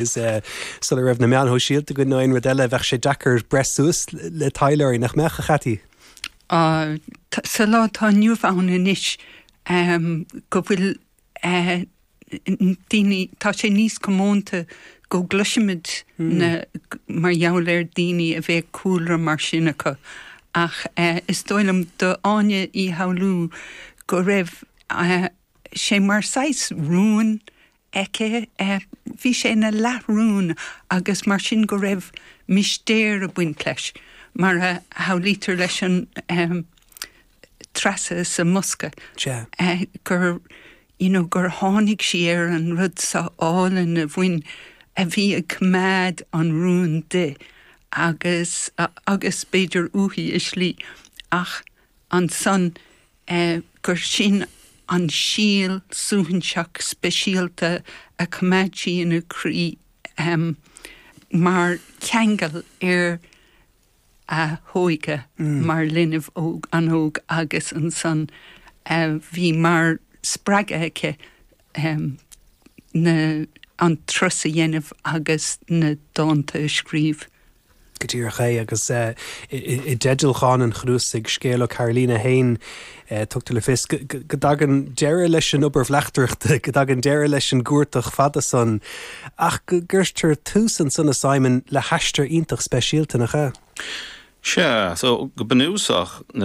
Is sula raibh na meáin shóisialta againn nó aon rud eile, bheadh sé deacair breith suas le taidhleoirí, nach mbeadh, a Chathy? Sa lá atá inniu ann anois, go bhfuil daoine, tá sé níos comónta go gcloisimid na, mar gheall ar daoine a bheadh cúlra mar sin acu. Ach is dóigh liom do Áine Uí Fhoghlú go raibh sé mar saghas rún aici. Bhí sé ina leathrún agus mar sin go raibh mistéir ag baint leis, mar a shamhlaítear leis an Treasa sa mbosca, gur you know gur tháinig sí ar an rud seo álainn a bhain, a bhí ag coimeád an rúin di agus agus b'fhéidir uaithi i slí ach ansan gur sin an síol suaithinseach speisialta a choimeád sí ina croí mar cheangal ar a hóige mar linbh óg an-óg agus ansan bhí mar spreagadh aici na an turas a dhéanamh agus na dánta a scríobh. Go díreach é, agus i dteideal dhán an chnuasaigh, Scéal ó Carolina 1, tugtar le fios go dtagann deireadh leis an obair bhleachtaireachta, go dtagann deireadh leis an gcuartach fada san, ach go gcuirtear tús ansan, a Simon, le haistear iontach speisialta, nach ea? Sea, so go bunúsach, na.